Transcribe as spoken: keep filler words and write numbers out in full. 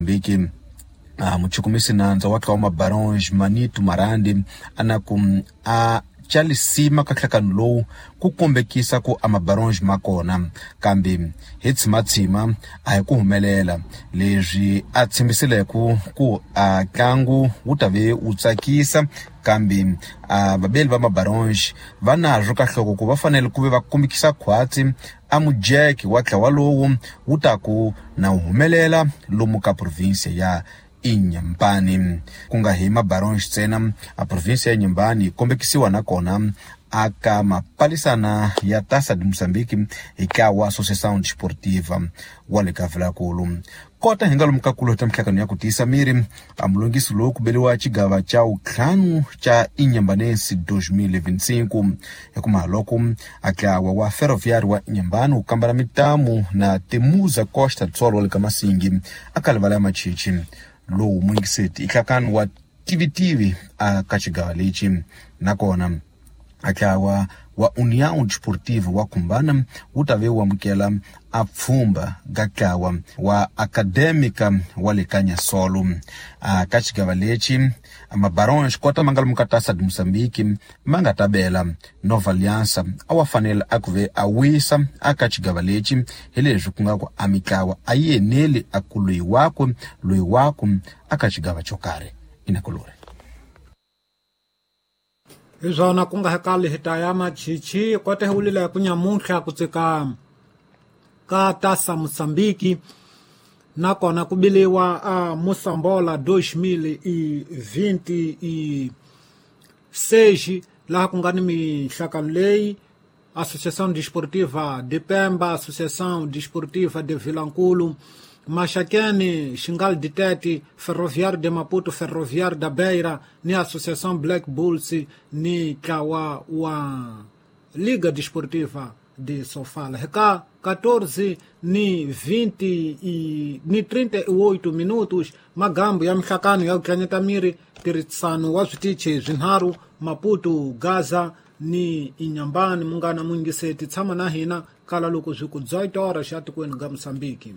Mozambique. Uh, muchukumisi nandza wa tlawa Mabaronge Manito Marandi ana ku a chalisima ka nhlakano lowu ku kombekisa ku a Mabaronge ma kona, kambe hi tshimatshima a hi ku humelela. Leswi a tshembisile ku ku a ntlangu wu ta ve wu tsakisa, kambe a vabeli va Mabaronge va nazwo ka nhloko ku va fanele ku ve va kombekisa khwatsi a mujeke wa ntlawa lowu wu ta ku na wu humelela lomu ka province ya Inhambane. Ku nga hi Mabaronge ntsena, a province ya Inhambane yi kombekisiwa nakona aka mapalisana ya Taça de Moçambique hi ntlawa Associação Desportiva wa le ka Vilankulu. Kota hi nga lomu ka kulo ta mihlangano ya ku tiyisa miri, a mulongisi lowu ku beliwa xigava xa wuntlhanu xa Inhambanense dois mil e vinte e cinco. Hi kuma loko a ntlawa wa Ferroviário wa Inhambane wu kambela mitamu na Temuza Costa do Sol wa le ka Masingi a ka livala ya Machichi. Lowu muyingiseti i nhlakano wa tivitivi a ka xigava lexi. Nakona a ntlawa wa União Desportiva wa Khumbana wu ta ve wu amukela a pfhumba ka ntlawa wa Académica wa le ka Nyasolo. A ka xigava lexi Mabaronge kota ma nga lomu ka Taça de Moçambique ma nga ta bela Nova Aliança a wa fanele a ku ve a wisa a ka xigava lexi, hi leswi ku nga ku a mitlawa a yi eneli a ku loyi wakwe loyi wakwe a ka xigava xo karhi. Inakulore hi swona ku nga hekali hi ta ya Machichi kota hi wulile ku nyamuntlha ku tsika ka Taça Moçambique nakona ku biliwa a Moçambola dois mil e vinte e seis laha ku nga ni mihlakano leyi Associação Desportiva de Pemba, Associação Desportiva de Vilankulo, Maxaquene, Xingal de Tete, Ferroviário de Maputo, Ferroviário da Beira, ni Associação Black Bulls, ni ntlawa wa Liga Desportiva de Sofala. Reka quatorze ni vinte e ni trinta e oito minutos, magambo ya mihlakano ya ku tlanyeta miri tirhisano wa switichi swinharhu Maputo, Gaza ni Inhambane. Munghana muyingiseti tshama na hina kala loko swi ku dezoito horas xa tikweni ga Moçambique.